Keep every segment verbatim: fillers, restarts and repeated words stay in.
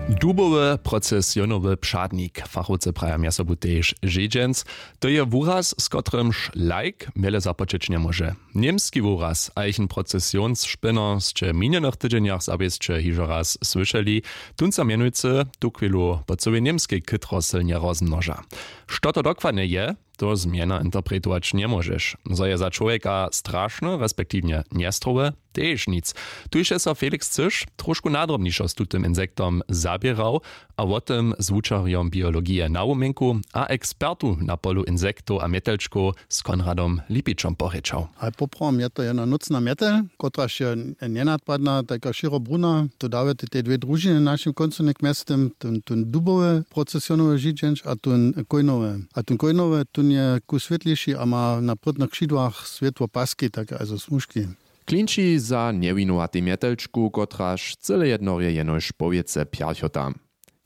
Dubowy procesionowy přadnik, fachowcy praja mjez sobu tež žědźenc. To je wuraz, z kotrymž lajk wjele započeć njemóže. Němski wuraz a jich procesionšpěno sće w minjenych tydźenjach zawěsće hižo raz słyšeli. Tón so mjenujcy tuchwilu po cyłej němskej chytro sylnje rozmnoža. Što to dokładnje je, to zmjena interpretować njemóžeš. Zo je za čłowjeka strašne respektiwnje njestrowe, tež nic. Tuž je so Felix Cyš trošku nadrobnišo z tutym insektom zaběrał a wo tym z wučerjom biologije na wuměnku a ekspertu na polu insektow a mjetelčkow z Konradom Lipičom porěčał. A poprawom je to jedna nócna mjetel, kotraž je njenadpadna, tajka šěrobruna. To dawje te dwě družiny na našim kóncu něk mjeztym, ten dubowy procesionowy židźenč a ten kójnowy. A ten kójnowy tón je ku swětlejši a ma na prědnych křidłach swětło paski, tak also smužki. Klinči za njewinowatej mjetelčku, kotraž cyle jednorje jenož powěce pjerchota.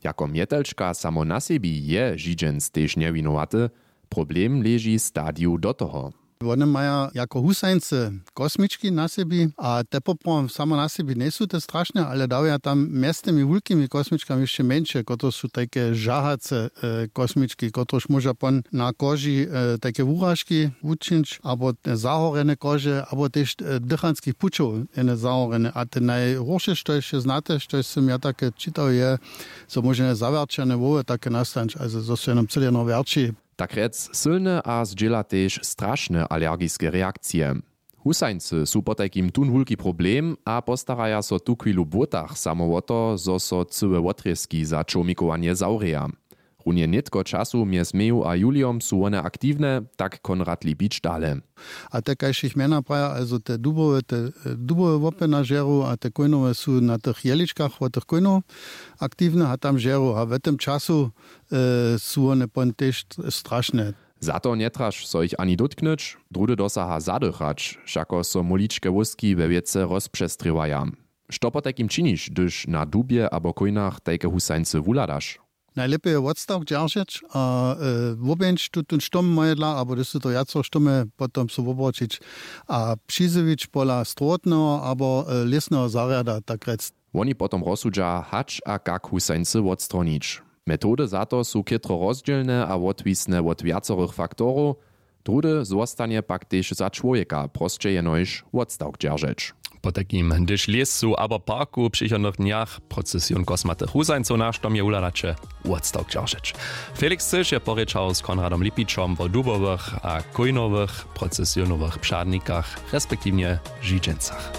Jako mjetelčka samo na sebi je židźenc tež njewinowaty. Problem leži w stadiju do toho. Wone maja jako husańcy kosmički na sebi a te poprawom samo na sebi njejsu te strašne, ale dawja tam mjez tymi wulkimi kosmičkami hišće mjeńše, kotrež su tajke žahace kosmički, kotrež móža pon na koži tajke wuražki wučińć abo zahorjene kože abo tež dychanskich pućow jene zahorjene. A te najhórše štož je znate, štož sym ja take čitał, je zo móže jene zawjerćene hłowy take nastańć, also zo su jeno cyle jeno wjerći. Tak rjec sylne a zdźěla tež strašne alergiske reakcije. Husańcy su potajkim tón wulki problem a postaraja so tuchwilu w błótach samo wo to, zo so cyłe wotrězki za čołmikowanje zawrěja. Runje nětko času mjez meju a julijom su wone aktiwne, tak Konrad Lipić dale. A te kaž jich mjena praja, also te dubowe te dubowe łopy na žeru a te kójnowe su na tych jeličkach wot tych kójnow aktiwne a tam žeru a w tym času su wone pon tež strašne. Za to njetraš so jich ani dótknyć. Druhdy dosaha zadychać, wšako so móličke wóski we wěcy rozpřestrěwaja. Što potajkim činiš, hdyž na dubje abo kójnach tajke husańcy wuhladaš? Najlěpje je wotstawk dźeržeć a wobjeńć tutón štóm mojedla abo hdyž su to wjacor štómy, potom so wobroćić a přizjewić pola strowotneho abo lěsneho zarjada tak rjec. Woni potom rozsudźa hač a kak husańcy wotstronić. Metody za to su chětro rozdźělne a wotwisne wot wjacorych faktorow. Druhdy zwostanje pak tež za čłowjeka prosće jenož wotstawk dźeržeć. Potajkim hdyž w lěsu abo parku w přichodnych dnjach procesion kosmatych husańcow na štomje wuhladaće, wotstawk dźeržeć. Felix Cyš je porěčał z Konradom Lipićom wo dubowych a kójnowych procesionowych přadnikach respektiwnje židźencach.